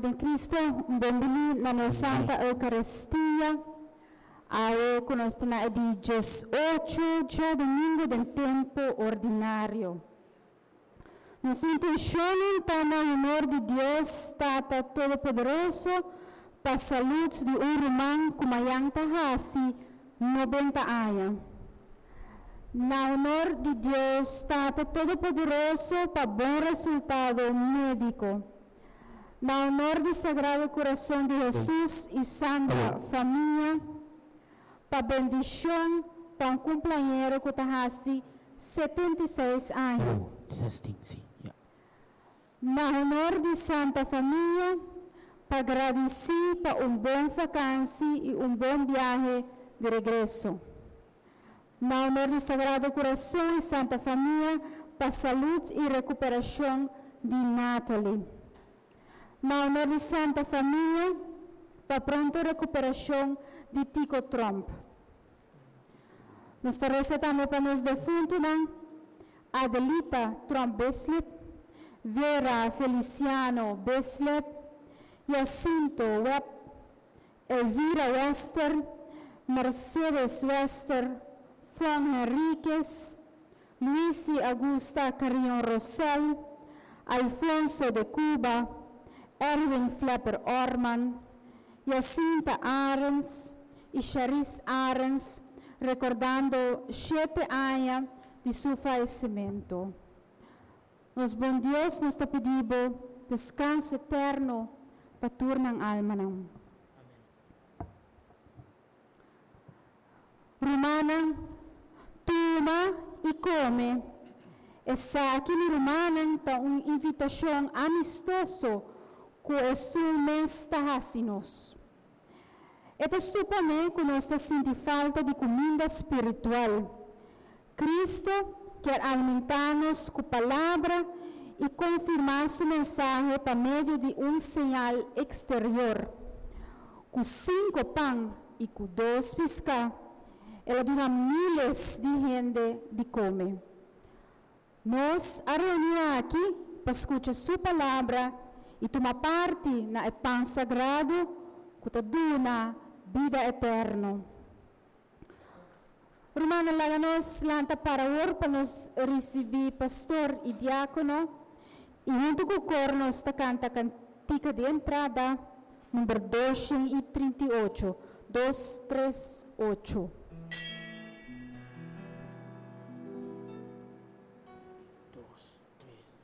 Den Cristo, un bon bini na nos Santa Eucaristia. Awe ku nos ta na e di 18 djadumingu den tempu ordinario. Nos intenshonnan ta na honor di Dios Tata Todopoderoso pa salud di un ruman ku mayan ta hasi 90 aña. Na honor di Dios Tata Todopoderoso pa bon resultado médiko. Na honor di Sagrado Kurason di Hesus i Santa Famia pa bendishon pa un kumpleañero ku ta hasi 76 aña. Oh, testing, si, ya. Na honor di Santa Famia pa gradisí pa un bon fakansi i un bon biahe di regreso. Na honor di Sagrado Kurason i Santa Famia pa salud i rekuperashon di Natalie. Na honor di Santa Famia pa pronto rekuperashon di Tico Tromp. Nos ta resa tambe pa nos defuntunan Adelita Tromp Bislip, Vera Feliciano Bislip, Jacinto Webb, Elvira Wester, Mercedes Wester, Fon Henriquez, Luisi Augusta Carrion Rosell, Alfonso de Cuba, Erwin Flapper Orman, Jacinta Arends i Charis Arends, rekordando 7 aña di su fayesimentu. Nos bon Dios, nos ta pidi bo deskanso eterno pa tur nan almanan. Rumannan, tuma i kome. Esaki, mi rumannan, ta un invitashon amistoso ku Esun mes ta hasi nos. E ta suponé ku nos ta sinti falta di kuminda spiritual. Kristu kier alimentá nos ku palabra i konfirmá su mensahe pa medio di un señal eksterior. Ku 5 pan i ku 2 piská, el a duna míles di hende di kome. Nos a reuní aki pa skucha su palabra i tuma parti na e pan sagrado ku ta duna bida eterno. Rumannan, laga nos lanta para awor pa nos risibí pastor i diákono i huntu ku kor nos ta kanta kantika di entrada number 238. 2, 3, 8.